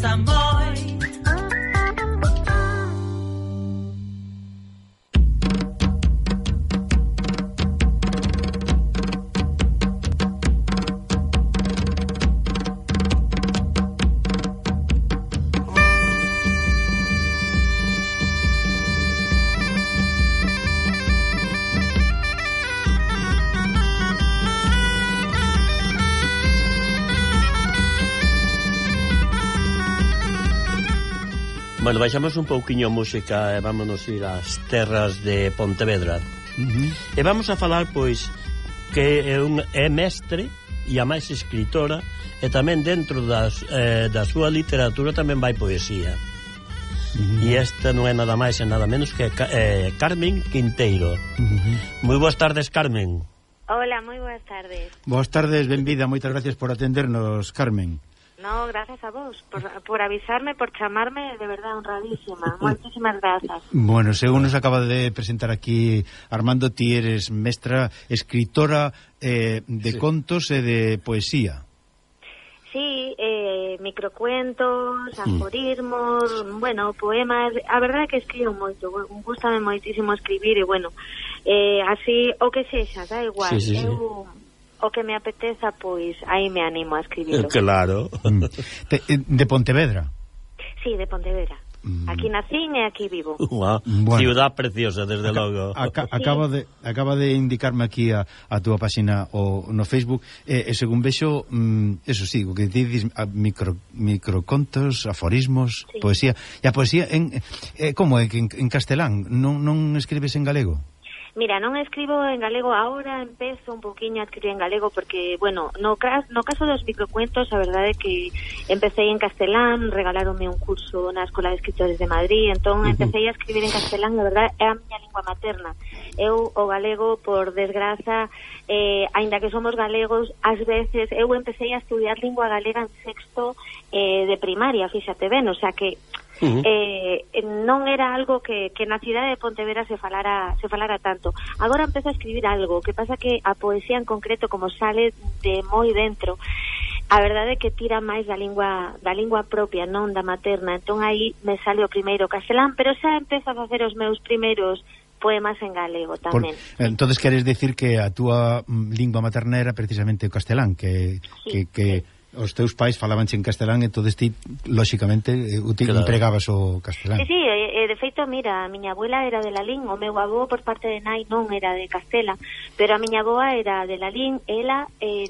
gusta moi. Bueno, baixamos un pouquiño música e vámonos ir ás terras de Pontevedra. E vamos a falar, pois, que é mestre e a máis escritora, e tamén dentro da súa literatura tamén vai poesía. E esta non é nada máis e nada menos que Carmen Quinteiro. Moi boas tardes, Carmen. Hola, moi boas tardes. Boas tardes, benvida, moitas gracias por atendernos, Carmen. No, gracias a vos por avisarme, por chamarme, de verdad, honradísima. Moitísimas grazas. Bueno, según nos acaba de presentar aquí Armando, ti eres mestra, escritora de contos e de poesía. Sí, microcuentos, aforismos, bueno, poemas. A verdade é que escribo moito, gústame moitísimo escribir e, bueno, así, o que sexa, da igual. Sí. O que me apeteza, pois aí me animo a escribirlo. Claro. De Pontevedra? Sí, de Pontevedra. Aquí nacín e aquí vivo. Bueno. Ciudad preciosa, desde logo. Acaba de indicarme aquí a túa página no Facebook, e según vexo, eso sí, o que dices, microcontos, aforismos, sí. Poesía. E a poesía, como é? En castelán? Non escribes en galego? Mira, non escribo en galego agora, empezo un poquinho a escribir en galego porque, bueno, no caso dos microcuentos, a verdade é que empecé en castelán, regaláronme un curso na Escola de Escritores de Madrid, entón empecé a escribir en castelán, a verdade, é a miña lingua materna. Eu, o galego, por desgraza, aínda que somos galegos, ás veces, eu empecé a estudiar lingua galega en sexto de primaria, fíxate ben, o sea que non era algo que na cidade de Pontevedra se falara tanto. Agora empezo a escribir algo, que pasa que a poesía en concreto, como sale de moi dentro, a verdade é que tira máis da lingua propia, non da materna. Entón aí me sale o primeiro castelán, pero xa empezo a facer os meus primeiros poemas en galego tamén. Entonces queres decir que a túa lingua materna era precisamente o castelán, que os teus pais falabanche en castelán e todo ti, lóxicamente, empregabas o castelán. Sí, de feito, mira, a miña abuela era de Lalín, o meu avó por parte de nai non era de Castela, pero a miña avoa era de Lalín, ela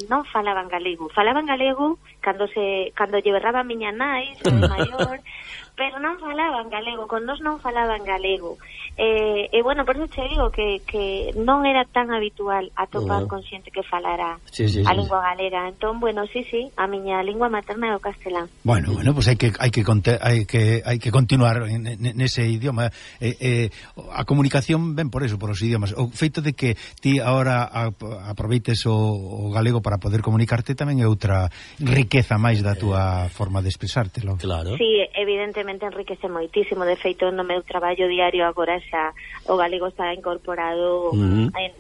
non falaba en galego. Falaba en galego cando lle berraba a miña nai, maior, pero non falaba en galego, con nós non falaba en galego. E bueno, por eso te digo que non era tan habitual atopar con xente que falara a lingua galega. Entón, bueno, sí, a miña lingua materna é o castelán. Bueno, pues hai que continuar nese idioma. A comunicación ven por eso, por os idiomas. O feito de que ti agora aproveites o galego para poder comunicarte tamén é outra riqueza máis da túa forma de expresártelo. Claro. Sí, evidentemente enriquece moitísimo. De feito, no meu traballo diario agora xa o galego está incorporado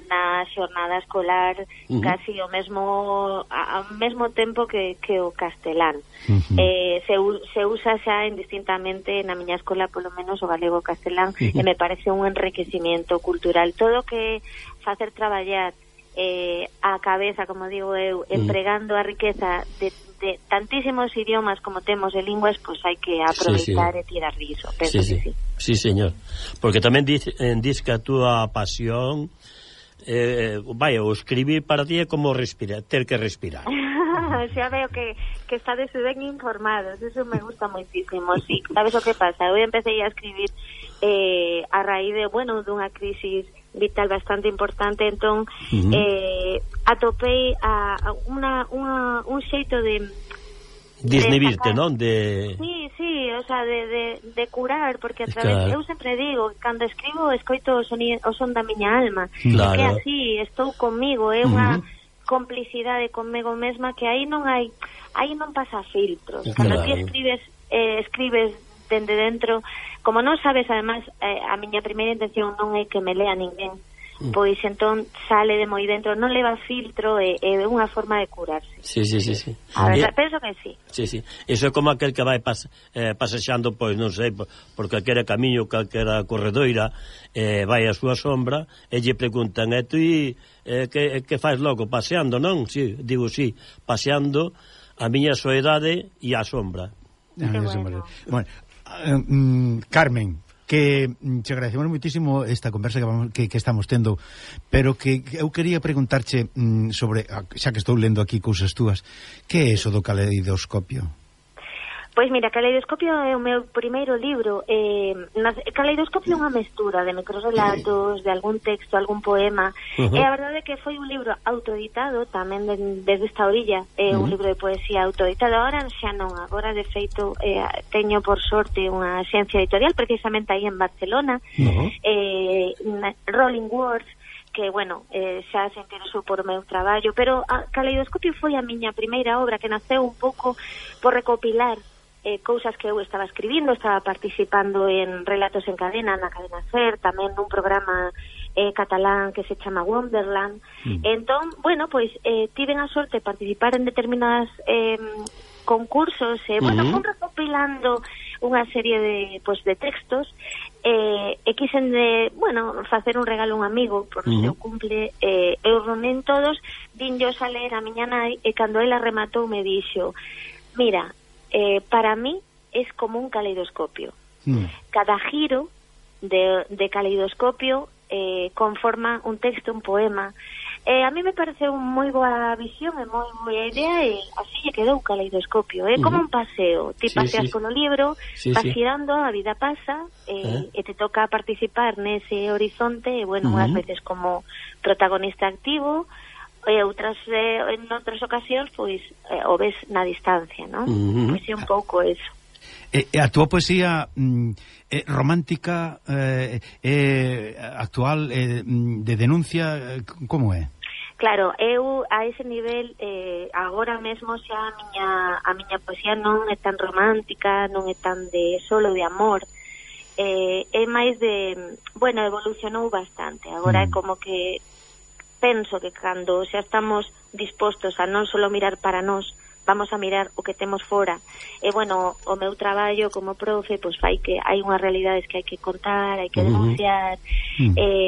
na xornada escolar casi ao mesmo tempo que o castelán. Se usa xa indistintamente na miña escola, polo menos o galego e o castelán, e me parece un enriquecimiento cultural. Todo que facer traballar a cabeza, como digo eu, empregando a riqueza de tantísimos idiomas como temos de linguas, pois hai que aproveitar e tirar riso. Penso que sí. Sí, señor. Porque tamén dis que a túa pasión o escribir para ti é como respirar, ter que respirar. Xa veo que estades ben informados, eso me gusta moitísimo, sí. Sabes o que pasa? Eu empecé a escribir a raíz de, dunha crisis vital bastante importante, entón atopei un xeito de desnibirte, non? Sí, o sea, de curar, porque a través, eu sempre digo, cando escribo escoito o son da miña alma, claro. Que así estou comigo, é unha complicidade conmigo mesma que aí non pasa filtros. Cando ti escribes dende dentro, como non sabes, además, a miña primeira intención non é que me lea ninguén, pois entón sale de moi dentro, non leva filtro, é unha forma de curarse. Sí. A ver, penso que sí. Sí. Iso é como aquel que vai pasexando, pois non sei, por calquera camiño, calquera corredoira, vai a súa sombra e lle preguntan: tú que faz logo paseando, non? Sí, digo sí, paseando a miña soedade e a sombra. Bueno. Bueno, Carmen, que te agradecemos moitísimo esta conversa que estamos tendo, pero que eu quería preguntarche sobre, xa que estou lendo aquí cousas túas, que é eso do caleidoscopio? Pois mira, Caleidoscopio é o meu primeiro libro. Caleidoscopio é unha mestura de microrelatos, de algún texto, algún poema. E a verdade é que foi un libro autoeditado tamén desde esta orilla. É un libro de poesía autoeditado. Agora xa non, agora de feito teño por sorte unha xencia editorial precisamente aí en Barcelona, Rolling Words, que, bueno, xa se interesou por meu traballo, pero Caleidoscopio foi a miña primeira obra que naceu un pouco por recopilar cousas que eu estaba escribindo, estaba participando en Relatos en Cadena, na Cadena SER, tamén nun programa catalán que se chama Wonderland. Entón, bueno, pois tiven a sorte de participar en determinadas concursos, bueno, fun recopilando unha serie de textos e quixen facer un regalo a un amigo por o seu cumple, eu reunín todos, dinllos a ler a miña nai, e cando ela rematou me dixo: mira, para mí es como un caleidoscopio. Cada giro de caleidoscopio conforma un texto, un poema. A mí me parece moi boa visión e moi boa idea, e así lle quedou Caleidoscopio. É como un paseo, ti paseas polo libro, vas girando, a vida pasa, e te toca participar nese horizonte, e bueno, unhas veces como protagonista activo, e outras en outras ocasións pois o ves na distancia, non? Pois é un pouco eso. A túa poesía romántica, actual, de denuncia, como é? Claro, eu a ese nivel agora mesmo xa a miña poesía non é tan romántica, non é tan de solo de amor, é máis de, bueno, evolucionou bastante. Agora é como que penso que cando xa estamos dispostos a non solo mirar para nós, vamos a mirar o que temos fora. E, bueno, o meu traballo como profe, pois fai que hai unhas realidades que hai que contar, hai que denunciar.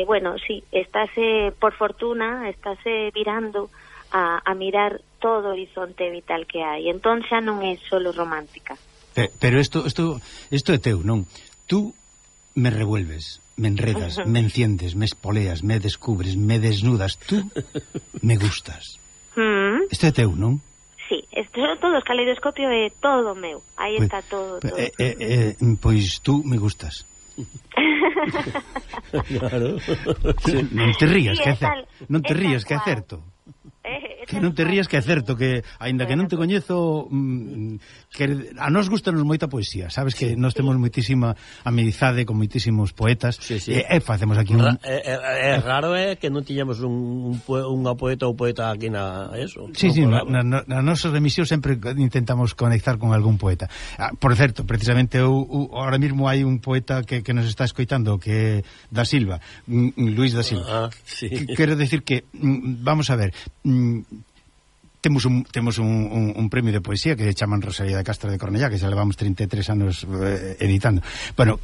Bueno, sí, estáse, por fortuna, estáse virando a mirar todo o horizonte vital que hai. Entón xa non é solo romántica. Pero isto é teu, non? Tú me revuelves, me enredas, me enciendes, me espoleas, me descubres, me desnudas. Tú me gustas. Isto é teu, non? Sí, isto é todo, o Caleidoscopio é todo meu. Aí está todo. Pois tú me gustas. Claro. Non te rías, que é certo. Non te rías, que é certo. Que non te rías, que é certo, que aínda que non te coñezo, que a nós gustanos moita poesía, sabes que nós temos moitísima amizade con moitísimos poetas, e facemos aquí un... É raro que non tiñamos unha poeta ou poeta aquí na eso. Sí, na nosa emisión sempre intentamos conectar con algún poeta. Por certo, precisamente ahora mesmo hai un poeta que nos está escoitando, que é da Silva, Luís da Silva. Quero decir que, vamos a ver, temos un premio de poesía que chaman Rosalía de Castro de Cornellá, que xa levamos 33 anos editando. Bueno,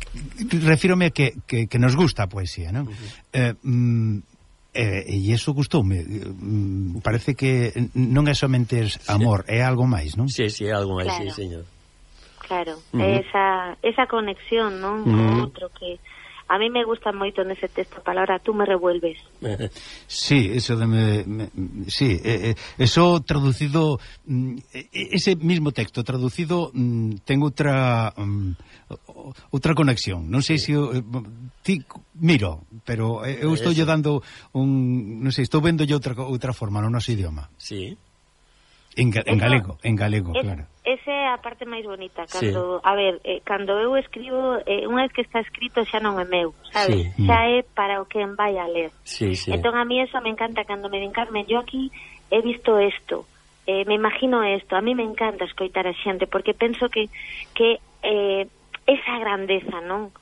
refírome que nos gusta a poesía, non? E iso gustoume. Parece que non é somente amor, é algo máis, non? Sí, é algo máis, sí, señor. Claro, esa conexión, non? Con outro que... A mí me gusta moito nese texto a palabra tú me revuelves. Sí, eso sí, eso traducido, ese mismo texto traducido ten outra conexión. Non sei se miro, pero eu estou lle dando non sei, estou vendo outra forma no noso idioma. Sí. En galego, claro. Esa é a parte máis bonita, cando, a ver, cando eu escribo, unha vez que está escrito xa non é meu, sabes? Xa é para o que vai a ler. Entón a mí eso me encanta cando me din, Carmen, yo aquí he visto esto, me imagino esto, a mí me encanta escoitar a xente, porque penso que esa grandeza, non?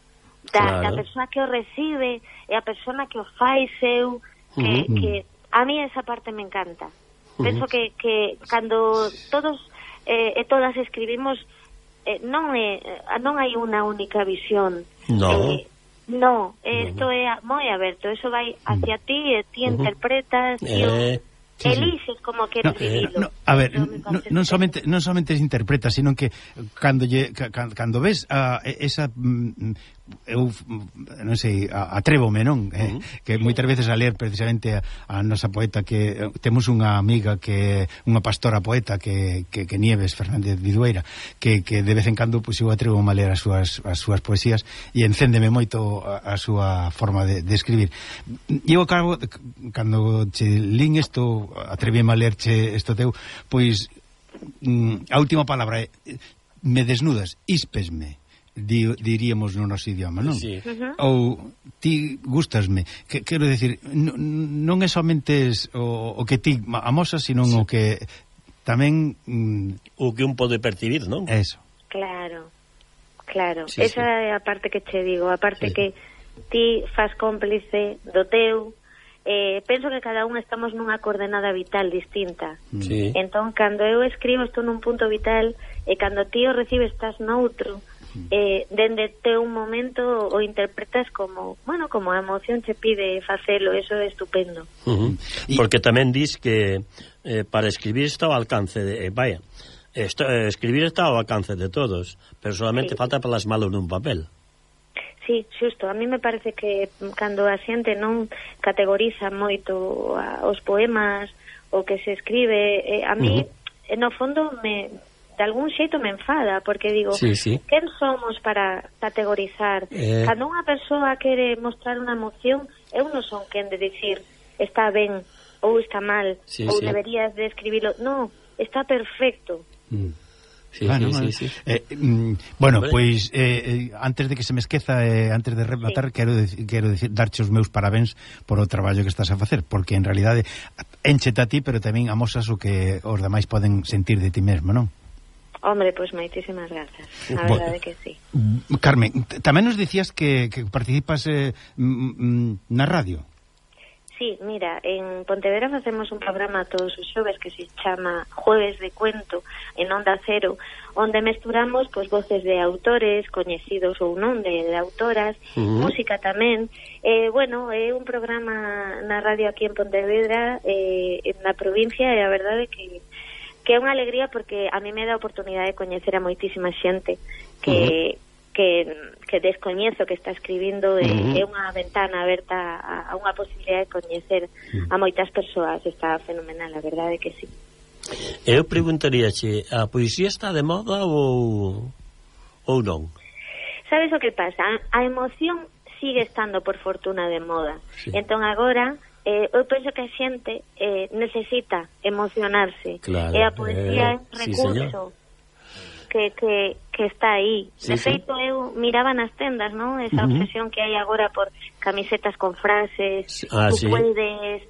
da persoa que o recibe e a persona que o fai seu, que a mí esa parte me encanta. Penso que cando todos e todas escribimos, non hai unha única visión. No, isto é moi aberto, eso vai hacia ti e ti interpretas e eliges como queres vivirlo. A ver, non somente interpretas, sino que cando ves esa eu non sei, atrévome, non? Que moitas veces a ler precisamente a nosa poeta, que temos unha amiga que unha pastora poeta que Nieves Fernández Vidueira, que de vez en cando pois eu atrevo a ler as súas poesías e encéndeme moito a súa forma de escribir. E eu acabo, cando che lín isto, atrevíame a lerche isto teu, pois a última palabra é me desnudas, íspesme, diríamos no noso idioma, non? Sí. Ou ti gustasme, quero decir, non é somente o que ti amosas, sino o que tamén o que un pode percibir, non? Eso. Claro. Esa é a parte que che digo, a parte que ti fas cómplice do teu. Penso que cada un estamos nunha coordenada vital distinta. Entón, cando eu escribo estou nun punto vital e cando ti o recibes estás noutro. Dende teu momento o interpretas como a emoción che pide facelo, eso é estupendo. Porque tamén dis que para escribir está ao alcance de escribir está ao alcance de todos, pero solamente falta plasmalo nun papel. Sí, xusto, a mí me parece que cando a xente non categoriza moito os poemas o que se escribe, a mí no fondo de algún xeito me enfada, porque digo, quen somos para categorizar? Cando unha persoa quere mostrar unha emoción, eu non son quen de dicir está ben ou está mal, ou deberías de escribilo. Non, está perfecto. Bueno, pois antes de que se me esqueza, antes de rematar, quero decir, darche os meus parabéns por o traballo que estás a facer, porque en realidade enchete a ti, pero tamén amosas o que os demais poden sentir de ti mesmo, non? Hombre, pois moitísimas grazas, a verdade que sí. Carmen, tamén nos dicías que participas na radio. Sí, mira, en Pontevedra facemos un programa todos os xoves que se chama Jueves de Cuento en Onda Cero, onde mesturamos pois voces de autores coñecidos ou non, de autoras, música tamén. Bueno, é un programa na radio aquí en Pontevedra, na provincia, e a verdade que é unha alegría porque a mí me dá a oportunidade de coñecer a moitísima xente que descoñezo, que está escribindo, é unha ventana aberta a unha posibilidade de coñecer a moitas persoas. Está fenomenal, a verdade que sí. Eu preguntaríache, a poesía está de moda ou non? Sabes o que pasa? A emoción sigue estando por fortuna de moda. Entón agora eu penso que a xente necesita emocionarse, e a poesía é un recurso que está aí. De feito, eu miraba nas tendas, non? Esa obsesión que hai agora por camisetas con frases, tú puedes,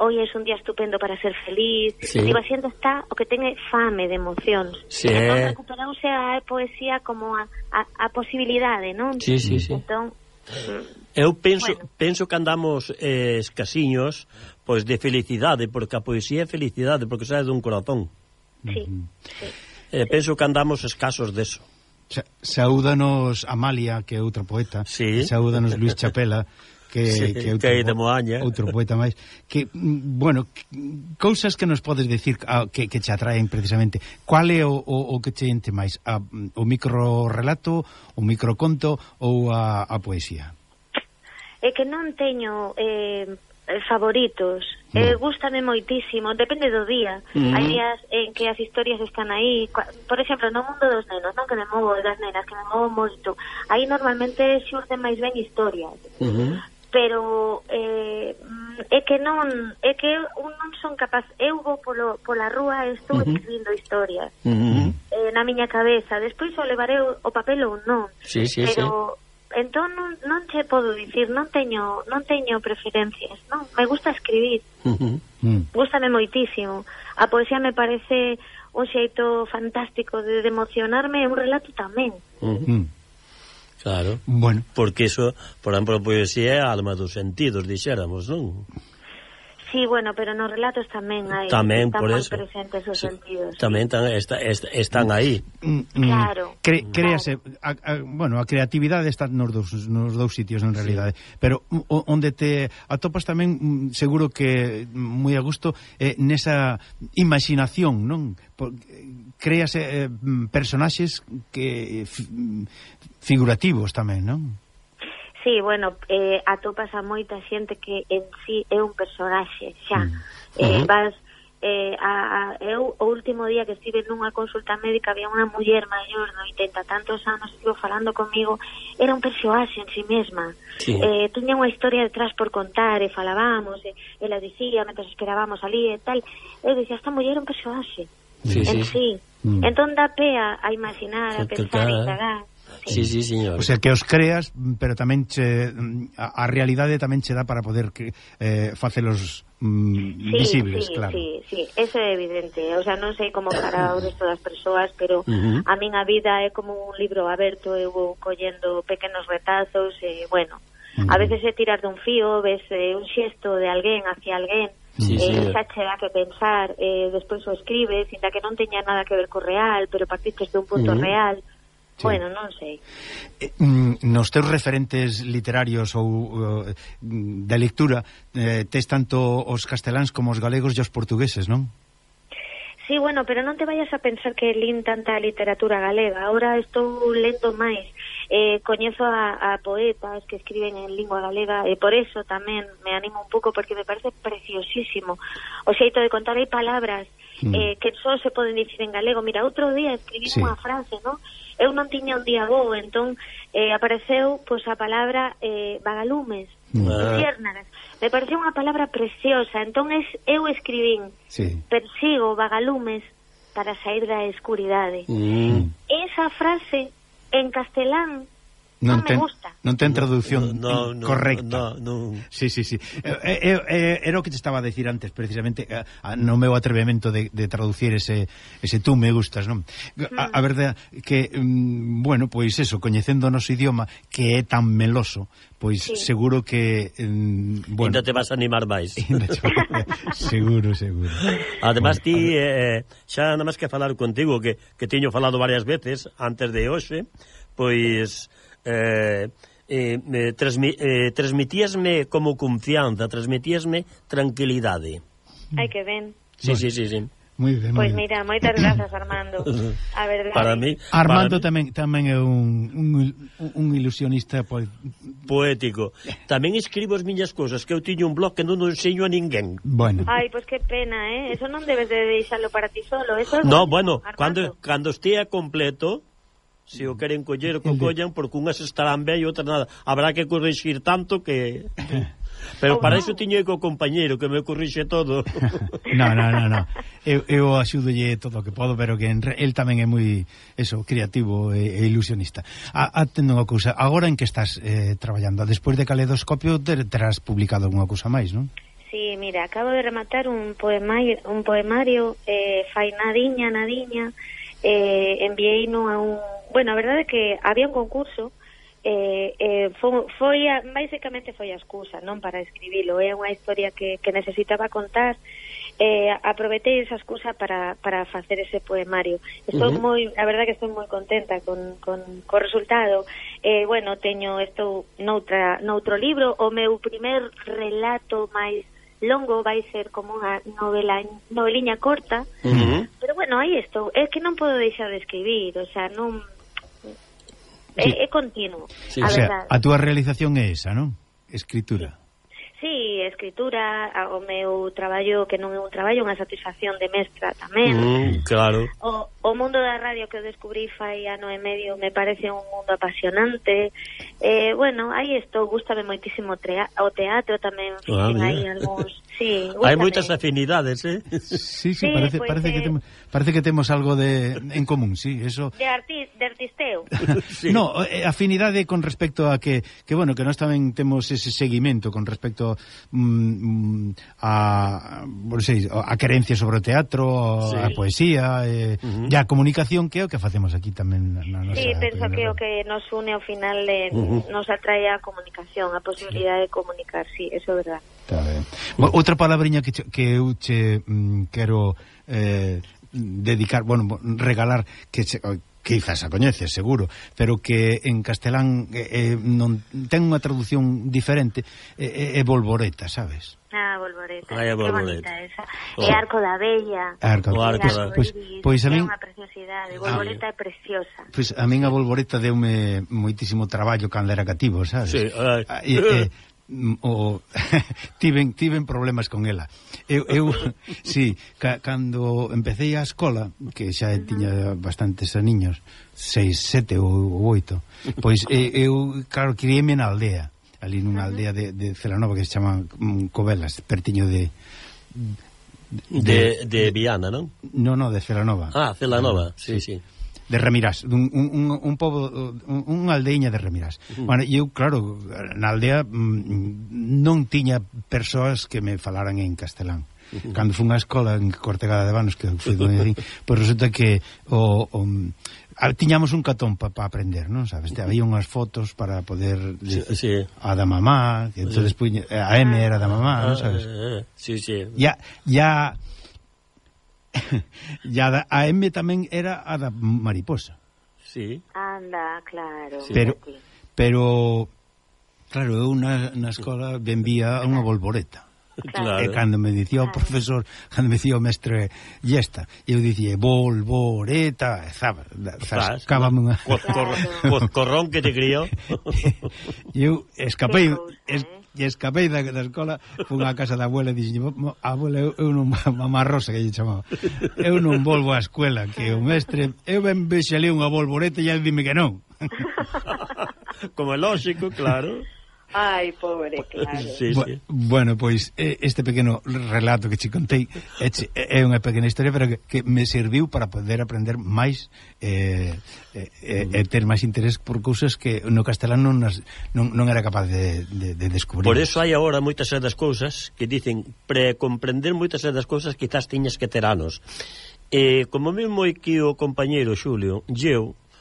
hoy es un día estupendo para ser feliz. Digo, a xente está o que ten fame de emocións. Entón recuperouse a poesía como a posibilidade, non? Entón eu penso que andamos escasiños pois de felicidade, porque a poesía é felicidade, porque sae dun corazón. Penso que andamos escasos deso. Saúdanos Amalia, que é outra poeta, saúdanos Luis Chapela, que é de Moaña, outro poeta máis, que, bueno, cousas que nos podes decir que te atraen precisamente. Cual é o que te ente máis? O microrelato, o microconto ou a poesía? É que non teño favoritos. Gústame moitísimo, depende do día. Hai días en que as historias están aí, por exemplo, no mundo dos nenos, non, que me movo, das nenas, que me movo moito, aí normalmente xurden máis ben historias. Pero é que non son capaz. Eu vou pola rúa e estou escribindo historias na miña cabeza. Despois o levaré o papel ou non, pero entón non che podo dicir, non teño preferencias, non, me gusta escribir. Gústame moitísimo. A poesía me parece un xeito fantástico de emocionarme, e un relato tamén. Claro. Bueno. Porque iso, por exemplo, a poesía é a alma dos sentidos, dixéramos, non? Sí, bueno, pero nos relatos tamén hai tamén están por moi eso presentes os sentidos. Tamén están aí. Claro. Créase, bueno, a creatividade está nos dous sitios en realidade, pero onde te atopas tamén seguro que moi a gusto nesa imaginación, non? Créase personaxes que figurativos tamén, non? Sí, bueno, atopas a moita xente que en sí é un personaxe, xa. Vas, eu o último día que estive nunha consulta médica había unha muller maior de 80 tantos anos, estivo falando comigo, era un personaxe en sí mesma. Sí. Tiña unha historia detrás por contar, e falábamos, ela dicía, mentre esperábamos ali e tal, eu dicía, esta muller é un personaxe. En sí. Entón dá pé a imaginar, a pensar e indagar. Sí, señor. O sea, que os creas, pero tamén a realidade tamén che dá para poder facelos visibles, claro. Sí, eso é evidente. O sea, non sei como para o resto das persoas, pero a miña vida é como un libro aberto, eu vou collendo pequenos retazos, bueno, a veces é tirar dun fío, ves un xesto de alguén hacia alguén, xa che dá que pensar, despois o escribes, ainda que non teña nada que ver co real, pero partistes de un punto real. Sí. Bueno, non sei. Nos teus referentes literarios ou de lectura tes tanto os casteláns como os galegos e os portugueses, non? Sí, bueno, pero non te vayas a pensar que lín tanta literatura galega. Ahora estou lendo máis. Coñezo a poetas que escriben en lingua galega e por eso tamén me animo un pouco porque me parece preciosísimo o xeito de contar. Hai palabras que só se poden dicir en galego. Mira, outro día escribí unha frase, non? Eu non tiña un día bo, entón apareceu pois a palabra vagalumes, luciérnagas. Me pareceu unha palabra preciosa, entón eu escribín persigo vagalumes para sair da escuridade. Esa frase en castelán non me gusta. Non ten traducción correcta. No. Sí. Era o que te estaba a decir antes, precisamente, no meu atrevemento de traducir ese tú me gustas, non? A verdade que, bueno, pois eso, coñecendo o noso idioma, que é tan meloso, pois seguro que, bueno... Ainda te vas a animar máis. Seguro. Además, ti, xa nada máis que falar contigo, que teño falado varias veces antes de hoxe, pois... transmitíasme como confianza, transmitíasme tranquilidade. Ai, que ben. Sí. Moi ben. Pois mira, moitas grazas, Armando. A verdade. Para mí, Armando tamén é un ilusionista poético. Tamén escribo as miñas cousas, que eu tiño un blog que non o enseño a ninguén. Bueno. Ai, pois que pena, Eso non debes de deixalo para ti solo. Eso no, bueno, cando estea completo, se o queren coller, que o collan, porque unhas estarán ben e outras nada. Habrá que corrixir tanto que... Pero para iso tiño co compañeiro que me corrixe todo. No. Eu axúdolle todo o que podo, pero que el tamén é moi creativo e ilusionista. Atendo unha cousa, agora en que estás traballando? Despois de Caleidoscopio terás publicado alguna cousa máis, non? Sí, mira, acabo de rematar un poemario fai nadiña, enviei-no a un... Bueno, a verdade é que había un concurso, basicamente foi a excusa, non para escribilo, é unha historia que necesitaba contar, aproveitei esa excusa para facer ese poemario. Estou a verdade que estou moi contenta con o resultado. Bueno, estou noutro libro, o meu primer relato máis longo vai ser como unha noveliña corta, pero bueno, aí estou. É que non podo deixar de escribir, o sea, non... É continuo, a verdade. A túa realización é esa, non? Escritura. Sí, escritura, o meu traballo, que non é un traballo, unha satisfacción de mestra tamén. Claro. O mundo da radio que eu descubrí fai ano e medio me parece un mundo apasionante. Bueno, aí estou, gústame moitísimo o teatro tamén, hai algúns... Sí, hai moitas afinidades, Sí, parece que temos algo en común, sí, eso. De divertiste eu? Sí. No, afinidade con respecto a que bueno, que nós tamén temos ese seguimento con respecto a querencia sobre o teatro, sí, a poesía, e a comunicación, que é o que facemos aquí tamén na nosa. Sí, penso que o que nos une ao final nos atrae a comunicación, a posibilidade de comunicar, sí, eso é verdad. Está ben. Outra palabriña que eu che quero dedicar, bueno, regalar, que quizás a coñeces, seguro, pero que en castelán non ten unha traducción diferente, é volvoreta, sabes? Volvoreta, Ai, a volvoreta. Que bonita esa. É Arco da Bella. Pois a min é unha preciosidade, volvoreta é preciosa. Pois a min a volvoreta deume moitísimo traballo cando era cativo, sabes? Sí, tiven problemas con ela. Eu sí, cando empecé a escola, que xa tiña bastantes aniños, 6, 7 ou 8, pois eu, claro, criéme na aldea, ali nunha aldea de Celanova que se chama Covelas, pertiño de Viana, non? No, de Celanova. Celanova, sí. De Remirás, un pobo, unha aldeiña de Remirás. Bueno, eu, claro, na aldea non tiña persoas que me falaran en castelán. Cando fui á escola en Cortegada de Banos, que foi donde pois resulta que tiñamos un catón para aprender, non sabes? Había unhas fotos para poder a da mamá, que entonces a M era da mamá, non sabes? Sí. A M tamén era a da mariposa. Sí. Anda, claro. Sí. Pero claro, eu na escola vendía unha volvoreta. Claro. E cando me dicía o profesor, cando me dicía o mestre Yesta, eu dicía volvoreta, zascábame unha corrón que te criou. Eu escapei da escola, fui á casa da abuela e dixen, abuela, eu non, mamá Rosa que lle chamaba, eu non volvo á escuela, que o mestre, eu ben vexalí unha volvoreta e ele dime que non. Como é lógico, claro. Ai, pobre, claro. Sí. Bueno, pois este pequeno relato que che contei é unha pequena historia, pero que me serviu para poder aprender máis e ter máis interés por cousas que no castelán non era capaz de descubrir. Por eso hai agora moitas das cousas que dicen, pre comprender moitas das cousas quizás tiñas que ter anos. Como mesmo aquí o compañeiro Xulio,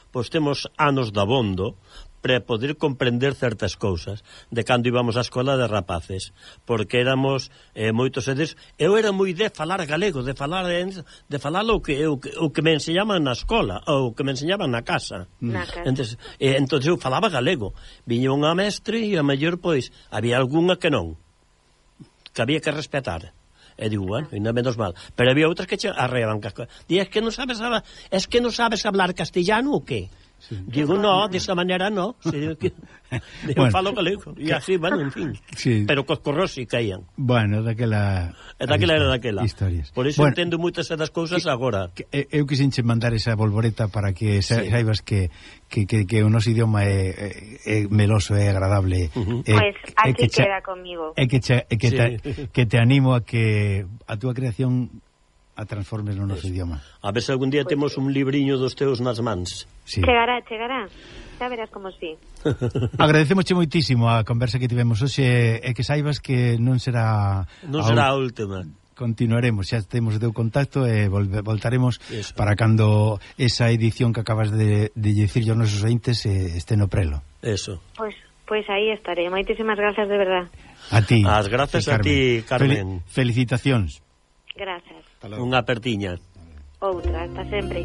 pois temos anos de abondo para poder comprender certas cousas de cando íbamos á escola de rapaces, porque éramos moitos edes. Eu era moi de falar galego, de falar o que me enseñaban na escola ou o que me enseñaban na casa. Entonces eu falaba galego. Viña unha mestre e a mellor pois había algunha que non, que había que respetar. E digo, bueno, ainda menos mal. Pero había outras que arreaban casco. Di, es que non sabes hablar castellano ou que? Sí. Digo, no, desa maneira no. Eu falo galego. E así, bueno, en fin. Sí. Pero cos corros si caían. Bueno, daquela era daquela. Historias. Por iso entendo moitas das cousas agora. Eu quixenche mandar esa volvoreta para que saibas que o noso idioma é meloso, é agradable. Pois aquí queda comigo. Que te animo a que a túa creación a transformes no noso idioma. A ver se algún día temos un libriño dos teus nas mans. Sí. Chegará. Xa verás como sí. Agradecemosche moitísimo a conversa que tivemos hoxe e que saibas que non será a última. Continuaremos, xa temos o teu contacto e voltaremos para cando esa edición que acabas de dicirlle aos nosos ointes este no prelo. Eso. Pois aí estaré. Moitísimas grazas de verdad. A ti. As grazas a ti, Carmen. Felicitacións. Gracias. Unha apertiña. Outra, hasta sempre.